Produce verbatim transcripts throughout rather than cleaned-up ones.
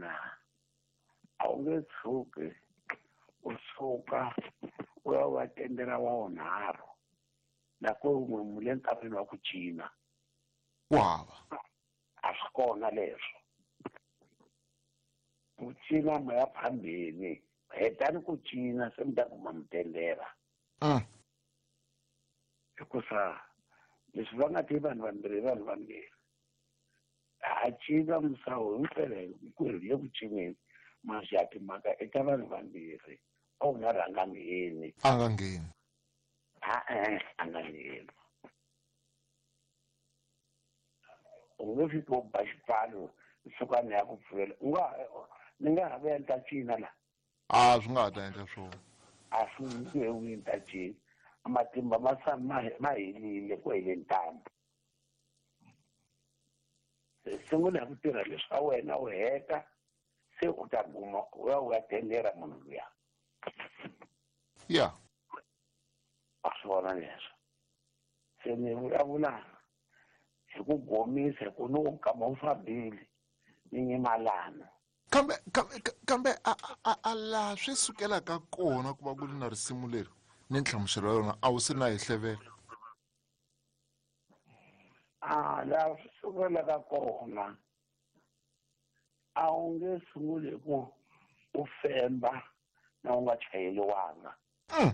na a wu nge tshuki u suka u ya u ya tendela wa wunharhu loko wun'we mu le nkarhini wa ku cina ku hava a swi kona leswo ku cina ma ya phambeni hetani ku cina se mi ta kuma mutendela mm. hikusa leswi va nga ti vanhu vambirhi vanhu vambirhi a cina musawu himpela hinkwerhu le ku cineni masi timhaka eka vanhu vambirhi a wu nga rhanga ngheni a nga ngheni a-e a nga ngheni u nge fiki u ba xipfalo suka ni ya ku pfulela u nga ni nga ha vuya ni ta cina la a swi nga ha ta endla swona a swi nge vuyi ni ta cina matimba ma sa ma ma helile ku hele ntambu sungula hi ku tirha leswa wena u heta se u ta kuma u ya u ya tendera munhu luya ya a swi vona leswo se ni vulavula hi ku gomisa hi ku ni nkama wu fambile ni nyimalana kambe kambe kambe a a a laha swi sukelaka kona ku va ku ri na risimu leri ni nhlamuselo ya yona a wu se na hi hlevela a laha swi sukelaka kona a wu nge sunguli hi ku u femba na u nga chayeliwanga Mm,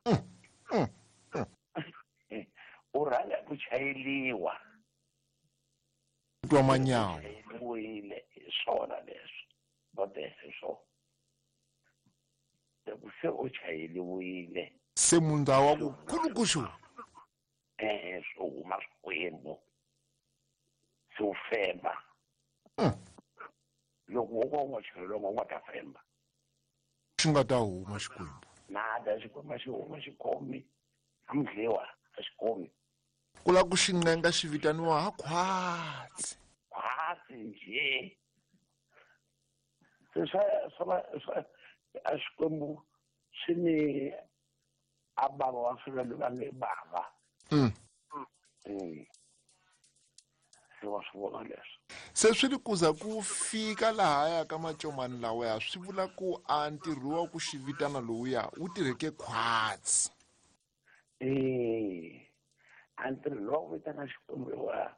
mm, mm, mm. u rhanga hi ku chayeliwa twa manyawu chayeliwile hi swona leswi botese swona loko se u chayeliwile se mundza wa ku khulukuxu e swi huma swikwembu se u femba Mm. loko wo ka u nga chayeliwanga u nga ta femba xi nga ta huma xikwembu nada xikwembu a xi huma xikomi a mudliwa a xikomi ku lava ku xi ncenga xi vitaniwa ha khwatsi khwatsi njhe se swa swa swa a xikwembu swi ni a bava wa swilo va nge bava Mm. Mm. Se wa swi vona leswo se swi ri kuza ku fika lahaya ka macomani lawaya swi vula ku a ntirho wa ku xi vitana lowuya wu tirheke khwatsi e a ntirho lowu vitana xikwembu wa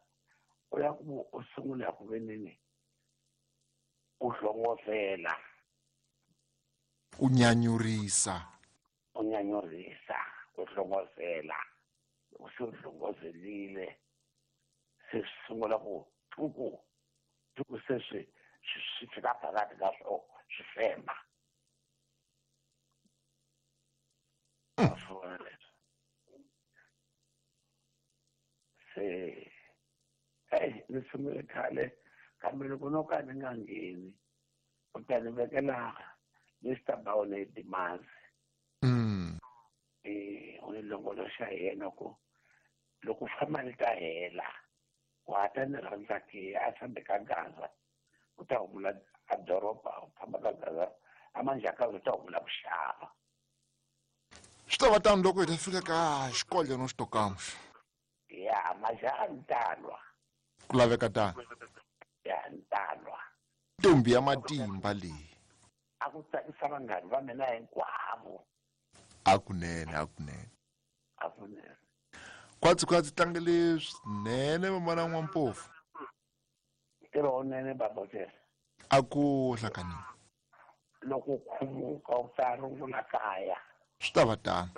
u ya ku u sungula ku veneni u hlongozela u nyanyurisa u nyanyurisa u hlongozela loko se u hlongozelile se swi sungula ku tuku tuku se swi swi swi fika phakathi ka swo swi femba wa swi vona leswo se eyi ni sungule khale kambe loko no ka ni nga ngheni u ta ni vekela Mister Baone Dimazi mm. eh u ni longoloxa hi yena ku loko famba ni ta hela wa ta ni rhandza ke a fambe ka Gaza u ta humula a doroba u famba ka Gaza a manjhakazi u ta humula ku xava swi ta va tano loko hi ta fika ka xikodla no xitokamuxa ya majaha ni ta lwa ku laveka tano ya ni ta lwa ntombi ya matimba leyi a ku tsakisa vanghani va mina hinkwavo a kunene a kunene a kunene khwatsi khwatsi tlangele swinene mamana n'wampofu ntirho wunene babotela a ku hlakanini loko u khumuka u ta rungula kaya swi ta va tano